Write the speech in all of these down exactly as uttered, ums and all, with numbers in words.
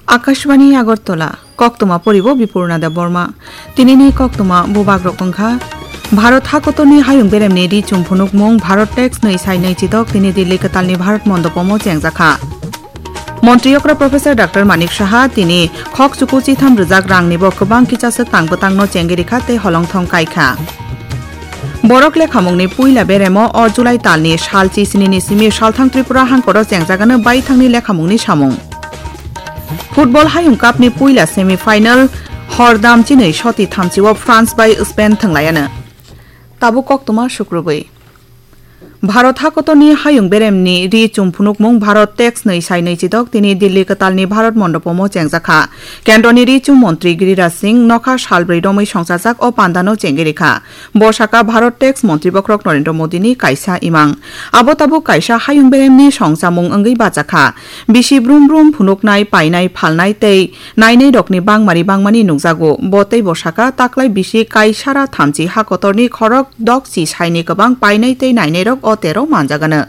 Akashvani Agartala, koktwma poribo Bipurna Debbarma. Tinini koktwma bubagrok wngkha: Bharat hakotorni hayung beremni ri chum phunukmung Bharat Tax nwi sai nwi chidok tini Delhi kwtalni Bharat Mondopomo chengjakha. Montri okra Professor Doctor Manik Saha tini khok chuku chitham rwjak rangnibo kwbang kichaswk tang bwtangno chengwi rikha tei holongthong kaikha. Borok lekhamungni puila beremo o July talni sal chi sinini simi salthang Tripura hangkoro chengjagano baithangni lekhamungni samung. Football Hayung Cup ni puila semi final hordam chinwi soti thamchio France bai Spain thwnglaiano. Tabuk koktwma sukrubwi. Bharat hakotorni hayung beremni ri chum phunukmung Bharat Tax nwi sai nwi chidok tini Delhi kwtalni Bharat Mondopomo chengjakha. Kendroni ri chum montri Giriraj Singh nokha salbrwi romwi songchajak o pandano chengwi rikha. Bo saka Bharat Tax montri bokhorok Narendra Modini kaisa imang. Abo tabuk kaisa hayung beremni songchamung wngwi bachakha. Bisi brum brum phunuknai, painai, phalnai tei nainairokni bangmari bangmani nukjago. Bo teibo saka, taklai bisi kaisara thamchi hakotorni khorok dokchi saini kwbang painai tei nainairok o tero manjagano.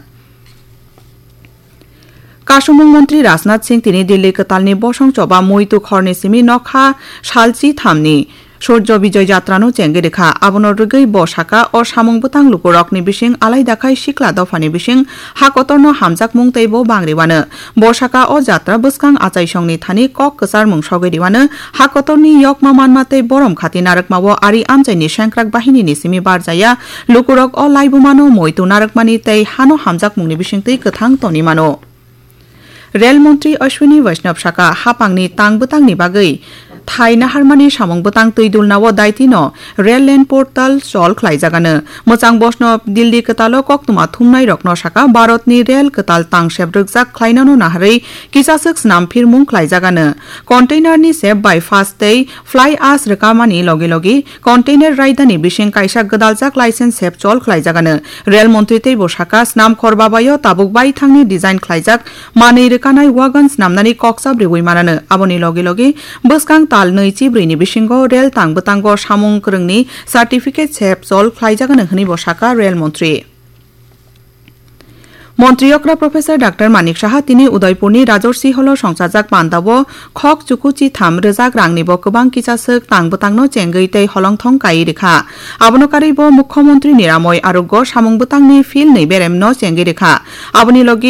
Kasumung montri Rajnath Singh tini Delhi kwtalni bosong choba muitu khorni simi nokha salchi thamni Surjo Bijoy Jatrano chengwi rikha. Abono rwgwi bo saka, o samung bwtang lukurokni bising alaida khai sikla dophani bising hakotorno hamjakmung tei bo bangriwano. Bo saka, o jatra bwskang achaisongni thani kok kwcharmung sogwi riwano, hakotorni yokma manma tei borom khati narwkmao ari amchaini sengkrak bahinini simi barjaya lukurok o laibumano muitu narwkmani tei hano hamjakmungni bisingtwi kwthang toni mano. Rel montri Ashwini Vaishnaw saka, hapangni tang bwtangni bagwi thai naharmani samung bwtang twi dulnao daitino Rel Lane Portal chol khlaijagano. Mwchang bosno Delhi kwtalo koktwma thumnairokno saka, Bharatni rel kwtal tangsep rwkjak khlainano naharwi kisaswk snam phirmung khlaijagano. Containerni sep bypass tei fly ash rwkamani logi logi container raidani bising kaisa gwdaljak license sep chol khlaijagano. Rel montri teibo saka, snamkhor babayo tabuk baithangni design khlaijak manwi rwkanai wagon snamnani kokchap riwi manano. Aboni logi logi bwskang tal nwi chibrwini bisingo rel tang bwtango samung kwrwngni certificate sep chol khlaijagano hwnwi bo saka rel montri. Montri okra Professor Doctor Manik Saha tini Udaipurni Rajarsi Holo songchajak pandao khok chuku chitham rwjak rangnibo kwbang kichaswk tang bwtangno chengwi tei holongthong kaiwi rikha. Abono karwibo Mukhyamantri Niramoy Arogyo samung bwtangni philni beremno chengwi rikha. Aboni logi